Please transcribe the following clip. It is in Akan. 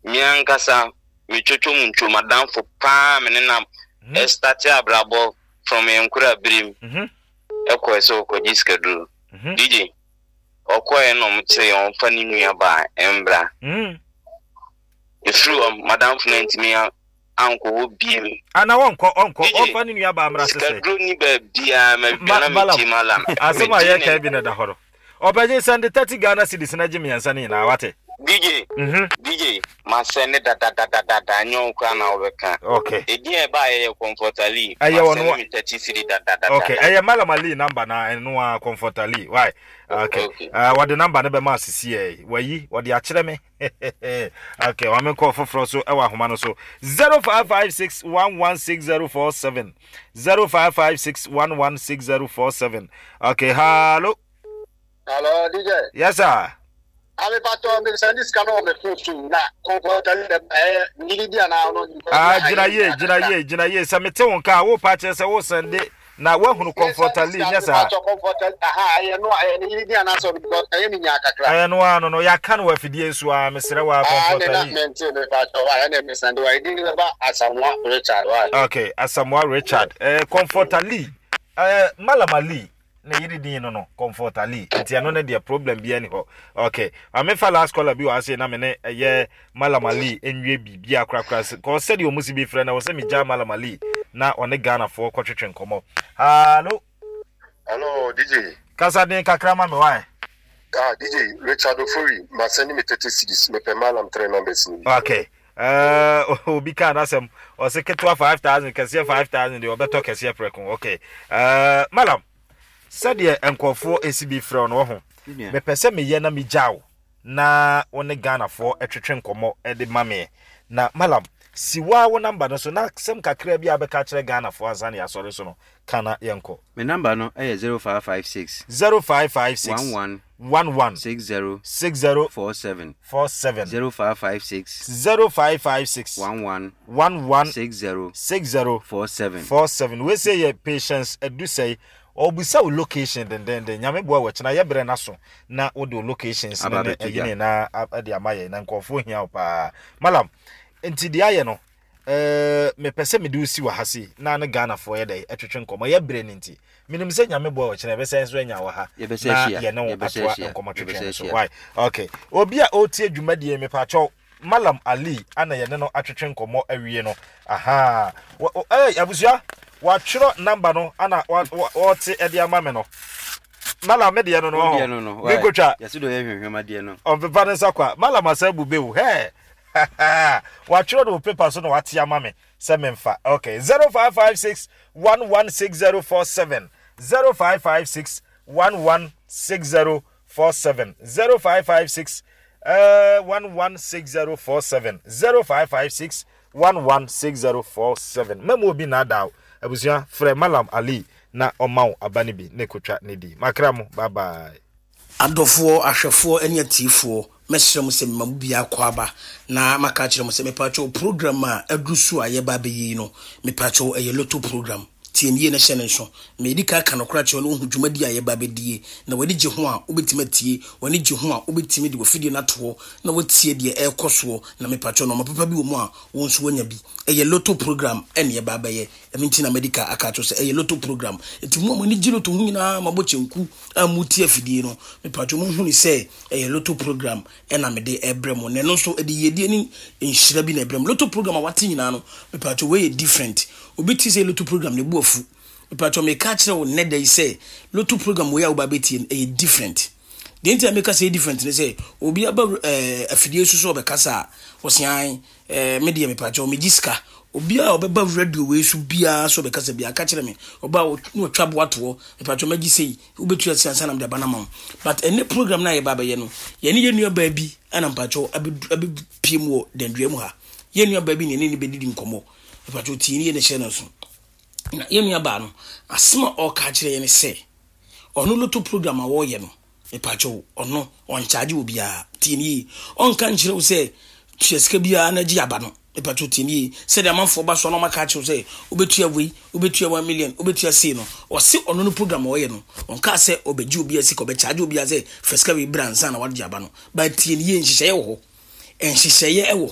Me ankasa me twotwo mu ntwo madamfo paa me ne nam ɛstate abrabɔ from yɛn nkora birim ɛkɔɛ sɛ ɔkɔgye sikaduro. DJ, ɔkɔɛ na ɔmo kyerɛ yɛn ɔmfa ne nua baa ɛmbra. Ɛfiri hɔ madamfo no antumi ankɔ hɔ biem. Ana wɔnkɔ ɔnkɔ ɔmfa ne nua baa mmra sesɛ. Sikaduro ni baabiaa ma bia na metie malam. Asɛm a yɛka bi na da hɔ no. Ɔbɛgye sɛnde 30 Ghana cedis na gye mmiɛnsa no nyinaa wate. DJ, DJ, ma sɛnde dadadadada nyɛ wo koraa na wobɛka. Okay. Edin a ɛbaeɛ yɛ Comfort Ali. Ɛyɛ Ma ɔno sɛnde me 30 cedi dadadadada. Okay, ɛyɛ Malam Ali number na ɛno a Comfort Ali. Why? Okay. Okay. Wɔde number no bɛma asisi ɛ. Wayi, wɔde akyerɛ me. Okay, wɔn menkɔ foforɔ so ɛwɔ ahoma no so. 0556116047. 0556116047. Okay, hello. Hello, DJ. Yes, sir. Ame pato me send this kano me phone so na comfort ali eh ngiri di ana no. Ah, gyina yie, gyina yie, gyina yie. Sɛ mete wo nka a, wo pa kyerɛ sɛ wo sɛnde na woahunu Comfort Ali nyɛ saa. Comfort aha ɛyɛ no ɛyɛ ne yiri di ana so because ɛyɛ me nya kakra. Ɛyɛ no ano no yɛaka no wɔ afidie so a mesrɛ wo a Comfort Ali. Ah, ne na mente me pato wa ɛna me sɛnde wa ɛdi ne ba Asamoah Richard wa. Okay, Asamoah Richard. Eh, Comfort Ali. Eh, Malam Ali. Ne yere din no no Comfort Ali nti ɛno ne deɛ problem biara ni hɔ. Okay, maame fa last caller bi wɔ ase na me ne ɛyɛ Malam Ali nwie biribiara korakora kɔ sɛdeɛ ɔmo si bi frɛ na wɔ sɛ megya Malam Ali na ɔne Ghanafoɔ kɔtwetwe nkɔmmɔ. Hallo. Hello DJ. Kasa den kakra ma me wae. Ah DJ Richard Ofori ma send me 30 cedis mepɛ Malam 3 numbers ni. Okay. Obi kaa n'asɛm ɔse ketewa 5000 kɛseɛ 5000 deɛ ɔbɛtɔ kɛseɛ prɛko. Okay. Malam, sɛdeɛ nkurɔfoɔ ɛsi bi frɛ no ho, mepɛ sɛ meyɛ na megya wo na wo ne Ghanafoɔ ɛtwetwe nkɔmmɔ de ma me. Na Malam, si wo a wo namba no so na asɛm kakra bi a bɛka kyerɛ Ghanafoɔ ansa na yɛasɔre so no, ka na yɛnkɔ. Me namba no yɛ 0556. 0556. 11. 11. 60. 60. 47. 47. 0556. 0556. 11. 11. 60. 60. 47. 47. Wei sɛ yɛ Patience Adusɛe. Ɔbisa wo location dendenden. Nyame boa wɔkyena yɛbrɛ no aso na wode wo locations ne ne ɛyi ne na de ama yɛn na nkurɔfoɔ hia wo paa. Malam, nti deɛ ayɛ no, mepɛ sɛ mede wo si wɔ ha sei na ne Ghanafoɔ yɛ dɛ ɛtwetwe nkɔmmɔ. Yɛ berɛ no nti, menim sɛ Nyame boa wɔkyena yɛbɛsɛ nso anya wɔ ha na yɛne wo atoa nkɔmmɔ twetwe no so. Why? Okay. Obi a ɔretie dwumadie mepakyɛw Malam Ali ana yɛne no atwetwe nkɔmmɔ awie no. Aha. Hey, abusua, watwerɛ number no ana wɔte ɛde ama me no. Malam me deɛ no no ɔhɔ. Menkotwa. Ɔmpepa ne nsa kwa. Malam asa bu bewu. Hey. Watwerɛ no wɔ paper so na wate ama me sɛ memfa. Okay. 0556 116047. 0556 116047. 0556 116047. 0556 116047. Mɛmu obi naadaa wo. Abusua, frɛ Malam Ali na ɔma wo aba no bi na ɛkɔtwa ne di. Makra mo. Bye bye. Adɔfoɔ, ahwɛfoɔ ne atiefoɔ, mɛsrɛ mo sɛ mema mo biara akwaaba na maka akyerɛ mo sɛ mepaakyɛw program a aduru so a yɛreba abɛyɛ yi no, mepaakyɛw ɛyɛ lotto program. Tie no yie na hyɛ no nso. Medi kan aka nokorɛ akyerɛ wo na woahu dwumadie a yɛreba abɛdie. Na w'ani gye ho a, wobɛtumi atie. W'ani gye ho a, wobɛtumi de w'afidie no ato hɔ na woatie deɛ ɛrekɔ soɔ. Na mepaakyɛw nnoɔma papa bi wɔ mu a wo nso woanya bi. Ɛyɛ lotto program na yɛreba abɛyɛ. Ɛno nti na madi kan aka akyerɛ wo sɛ ɛyɛ lotto program. Nti mo a mo ani gye lotto ho nyinaa, moabɔ kyenku a moretie afidie no, mepatwo monhunu sɛ ɛyɛ lotto program na mede rebrɛ mo. Na ɛno nso ɛde yiedie ne nhyira bi na ɛbrɛ mo. Lotto program a wate nyinaa no, mepatwo wei yɛ different. Obi te sɛ lotto program ne bo afu. Mepatwo meka akyerɛ wo nnɛ da yi sɛ lotto program wei a woba abɛtie no, ɛyɛ different. Deɛ nti a meka sɛ ɛyɛ different ne sɛ, obi aba eh, afidie so sɛ ɔbɛkasa a, ɔse ae, eh, me deɛ mepakyɛw megye sika. Obiara a ɔbɛba radio wei so biara sɛ ɔbɛkasa biara, ka kyerɛ me. Ɔba a na watwa aboa to hɔ, mepakyɛw mɛgye sei, wobɛtua sei ansa na mede aba no ama wo. But ɛnnɛ program no a yɛba abɛyɛ no, yɛne yɛn nuabaa bi ɛna mpakyɛw abɛpie mu wɔ dandua mu ha. Yɛn nuabaa bi na yɛne no bɛdidi nkɔmmɔ. Mepakyɛw tie no yie na hyɛ no nso. Na yɛn nuabaa no, asɛm a ɔreka akyerɛ yɛn ne sɛ, Ɔno lotto program a wɔyɛ no mepakyɛw ɔno ɔnkyagye obiara tie no yie ɔnka nkyerɛ wo sɛ tua sika biara na gye aba no mepakyɛw tie no yie sɛdeɛ amanfoɔ ba so a na ɔmaka akyerɛ wo sɛ wobɛtua wei wobɛtua 1 million wobɛtua sei no ɔse ɔno no program a ɔyɛ no ɔnkaa sɛ ɔbɛgye obiara sika ɔbɛkyagye obiara sɛ fa sika wei bra ansa na wagye aba no but tie no yie nhyehyɛeɛ wɔ hɔ nhyehyɛeɛ wɔ hɔ.